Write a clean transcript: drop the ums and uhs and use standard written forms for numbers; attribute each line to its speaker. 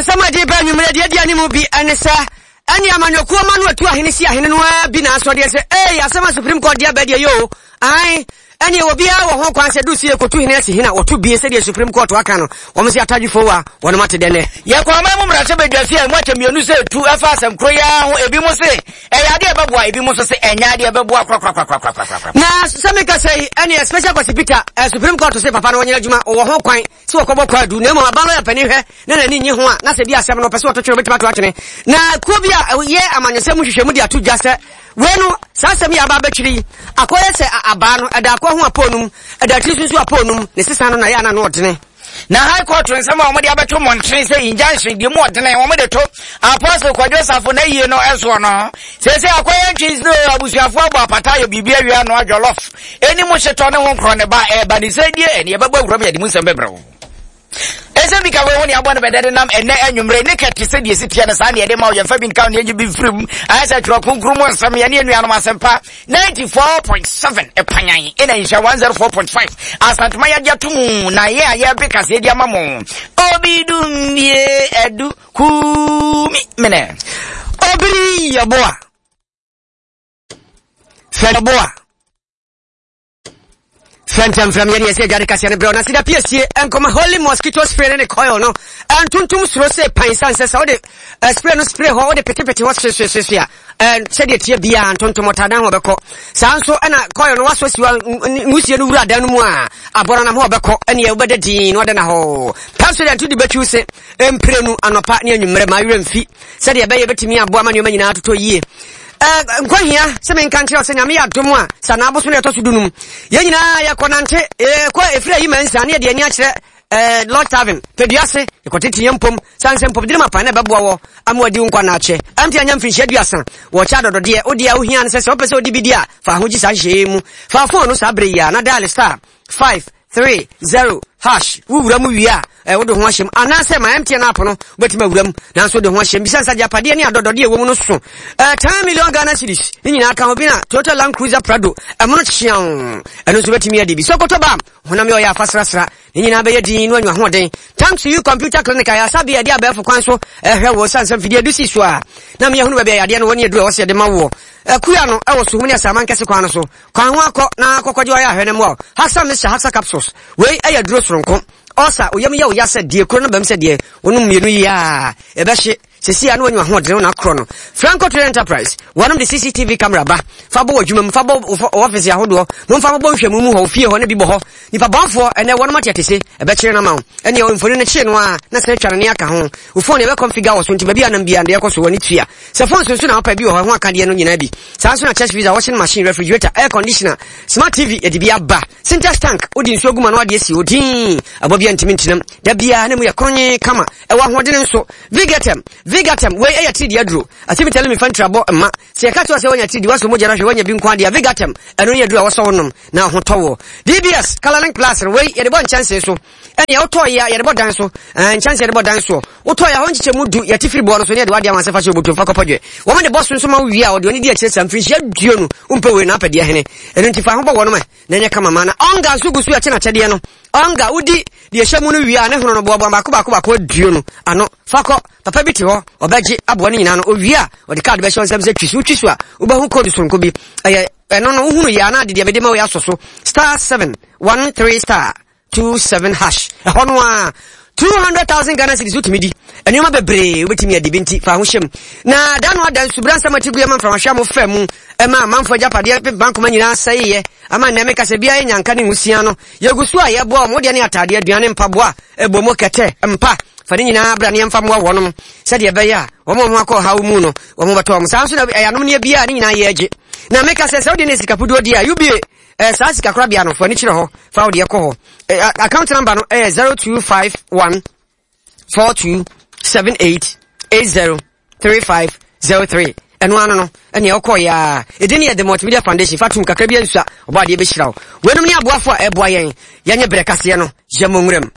Speaker 1: Nsɛm a ɛde ba anwummerɛ deɛ adi anim bi ne sɛ ɛne amanyɔkuo ma no atu ahene si ahene no ara bi na asɔdeɛ sɛ ei asɛm a Supreme Court de aba deɛ yɛ o ae ɛne obiara wɔ ho kwan sɛ du sɛ yɛkɔtu hene asi hene a wɔto bie sɛdeɛ Supreme Court aka no wɔn sɛ atadwefoɔ wa wɔnom ate dɛ nɛ.
Speaker 2: Yɛkɔ aman mu mmarahyɛbadwafie a emu akyɛ mmienu sɛ etu ɛfa asɛm koro yi ara ho ebinom se ɛyɛ adeɛ a ɛbɛboa ebinom nso se ɛnyɛ adeɛ a ɛbɛboa korakorakorakorakorakora.
Speaker 1: Na sɛ meka sɛ yi ɛneɛ Special Kwasi Peter eh, Supreme Court se papa no wɔnyɛ adwuma wɔwɔ ho kwan sɛ wɔkɔbɔ kwaadu na mmom aban lɔya panin hwɛ na n'ani nnye ho a na sɛ bi asɛm no ɔpɛ sɛ ɔto twene obɛtumi ato atwene na kuo bi a ɛyɛ amanyɔsɛm mu nhwehwɛmu de ato dwa sɛ wei no saa asɛm yi aba abɛtwere yi akɔyɛ sɛ abaa no ɛda akɔ ho apɔɔ nom ɛda tiri so nso apɔɔ nom ne sesa no na yɛ ana no ɔdene.
Speaker 2: Na High Court nsɛm a wɔde abɛto mmɔntene sɛ injunction deɛ mu ɔdene wɔde to Apostle Kwadwo Safo n'ayie no soɔ no, seesei akɔyɛ ntwensini o, abusuafoɔ abɔ apata ayɛ biribi awie anoa jollof ɛni mu hyetɔ ne ho nkorɔ ne ba ɛreba ne sɛ die ɛne yɛbɛbɔ awuram yɛde mu nsɛm bɛbrɛ wo. Ɛsɛ bi ka wei ho ne abɔ no bɛdɛ de nam ɛnɛ anwummerɛ ne kɛte sɛ deɛ ɛsi teɛ no saa ne ɛde ma wo yɛmfa bi nka wo ne ɛnyi bi mfiri mu ayɛ sɛ twerɛ kronkron mu nsɛm yɛne anuanom asɛmpa 94.7 ɛpanyan ɛna nhyɛ 104.5 Asantema yɛagye ato mu na yɛ a yɛbe kaseɛ di ama mo obi dummie adu kumi mene
Speaker 1: obiri yɛboa fɛ yɛboa Fɛntɛmfrɛm yɛne yɛsɛ adware kaseɛ no berɛ na sida piesie nkɔma holy mosquito spray ne ne coil no ntontom suro sɛ pan sane sɛ sɛ wode eh, spray no spray hɔ wode petepete hɔ hwehwehwehwe a eh, sɛdeɛ tie biara ntontom ɔtadan hɔ bɛkɔ saa nso ɛna coil no wasɔ siwa nwusie no wura dan no mu a abɔrɔ nam hɔ bɛkɔ ɛneɛ wobɛda din na ɔda na hɔ Pepsodent wode bɛtwiw se mprenu anɔpa ne anwummerɛ ma werɛ mfi sɛdeɛ ɛbɛyɛ bɛtumi aboa ma nneɛma nyinaa totɔ yie nkɔhia sɛ menka nkyerɛ sɛ nyame yɛ adom a sɛ anaaboso no ɛtɔ so dunum yɛn nyinaa yɛkɔ nante yɛkɔ ɛfiri ayi ma nsa ne yɛde ani akyerɛ eh, Lord Tavern pɛdua ase yɛkɔtete yɛn mpom sane sɛ mpom ma pan na ɛbɛboa wɔ ama wadi wo nkwa na akyɛ ɛmte anya mfirinhyia aduasa wɔkyɛ adɔdɔdeɛ wodeɛ a wohia no sɛ sɛ wopɛ sɛ wode bi di a fa ho gye saa nhyehyɛeɛ mu fa fon no saa berɛ yi a na dial star 5 3 0 hash wowura mu wie a eh, wode ho ahyɛm anaasɛ ma MTN app no wobɛtumi awura mu nanso wode ho ahyɛm bisa nsa agyapadeɛ ne adɔdɔdeɛ ɛwɔ mu no so eh, 10 million Ghana cedis ne nyinaa ka ho bi na Toyota Land Cruiser Prado ɛmono kyeaw ɛno nso wobɛtumi adi bi Sokoto bam honam yɛ ɔyɛ afa srasra ne nyinaa bɛyɛ din no anya ahoɔden thanks to you computer clinic a yɛasa bea ɛde abɛɛfo kwan so ɛhwɛ wɔ sane sɛ mfidie du si so a na meyɛhunu baabi a yadeɛ no wɔ ne aduru a ɛwɔ sɛ yɛde ma woɔ akua no ɛwɔ suhum ne asaman kɛse kwan no so kwan ho akɔ na akɔkɔgye ɔyɛ ahwɛ no mmoa wo haksa mixture haksa capsules wei ɛyɛ duro soronko ɔsa oyam yɛ wo ya sɛ deɛ kuro no bɛm sɛ deɛ wonom mmienu yi a ɛbɛhye Sesei a na wanya ahoɔdene wo na akorɔ no. Franco Trade Enterprise, wɔnom de CCTV camera ba. Fa bɔ w'adwuma mu, fa bɔ wo office ahodoɔ, momfa mobɔ nhwɛmu mu hɔ, wo fie hɔ ne bi bɔ hɔ. Nipa bɔnfoɔ, ɛnɛ wɔnom ate atese, ɛbɛkyere no ama wo. Ɛneɛ mfoni no kyee no a, na sɛ atwa no ne aka ho. Wo phone yɛbɛ configure wɔ so nti baabi a nam biara deɛ ɛkɔ so w'ani tua. Sɛ phone so nso na wopɛ bi wɔ hɔ, ɛho akadeɛ no nyinaa bi. Saa nso na chest freezer, washing machine, refrigerator, air conditioner, smart TV yɛde bi aba. Sintex tank, wode nsuo gu mu a na wode asi hɔ dinn, aboa biara ntumi ntenam. Da biara na mu yɛ kronye kama, ɛwɔ ahoɔdene nso. Vigatem, Vigatem, wei ɛyɛ tiridi aduro. Asɛm mi fa ntirabɔ mma. Sɛ yɛka kyerɛ sɛ woanya tiridi, woasɔ mogya no ahwɛ, woanya bi nko adeɛ a, Vigatem, ɛno ne aduro a wɔsɔ wo nom na ho tɔ woɔ. DBS, Colorlink Plus no, wei yɛde bɔ nkyɛnsee so. Ɛnea wotɔɔ yi a yɛde bɔ dan so, ɛɛ nkyɛnsee yɛde bɔ dan soɔ. Wotɔɔ yi a hɔ nkyekyɛ mu du, yɛte firi boɔ no so ne yɛde wadeɛ ama sɛ fa hyɛ obotom fa kɔpɔ dwɛ. Wɔn de bɔ so nso ma wo wie a, wɔde wɔn di akyire saa mfirinhyia duonu. Wompɛ wei na apɛ deɛ hene. Ɛno nti fa ho bɔ wɔnom ɛ na ɛnyɛ kama ma na ɔnga nso gu so ɛkye n'akyɛdeɛ no. Ɔnga wodi deɛ ɛhyɛ mu no wie a ne hono no boaboa baako baako baako aduonu ano fa kɔ. Papa bi te hɔ ɔbɛgye aboa no nyinaa no owie a ɔde kaad bɛhyɛ nsam sɛ twi so wotwi so a wobɛhu code soronko bi ɛyɛ ɛno no wohunu yɛ anaa de deɛ mede ma wo yɛ asɔ so star 713 star 27 hash ɛhɔ no a 200,000 Ghana cedis wotumi di nneɛma bebree wobɛtumi adi bi nti fa ho hyɛm na da no ada nsubra nsɛm ati guɛ ma mframahwɛ a mofɛ mu ɛma amanfoɔ agyapadeɛ pepankoma nyinaa sɛeɛ ama nnɛ meka sɛ biara nyanka ne nwusia no yɛgu so a yɛboa wɔn wodeɛ ne ataadeɛ aduane mpaboa ɛbɔ mu kɛtɛ mpa fa ne nyinaa bra ne yɛmfa mmoa wɔnom sɛdeɛ ɛbɛyɛ a wɔn a wɔn akɔ ɔhaw mu no wɔn bɛtɔ wɔn saa nso na ɛyanom ne biara ne nyinaa yɛ agye na meka sɛ sɛ wode ne sikapuduo di a UBA eh, saa sikakorabea no fa ani kyerɛ hɔ fa wo deɛ kɔ hɔ eh, account number no ɛyɛ 0251 42 78 80 35 03 ɛno ano no ɛnea ɔkɔɔ yɛ a ɛdin yɛ the multimedia foundation fa tom kakra bi ansua ɔbɔ adeɛ bɛhyira wo weinom ne aboafo a ɛboa yɛn yɛnyɛ berɛ kaseɛ no yɛ mmɔ nwuram.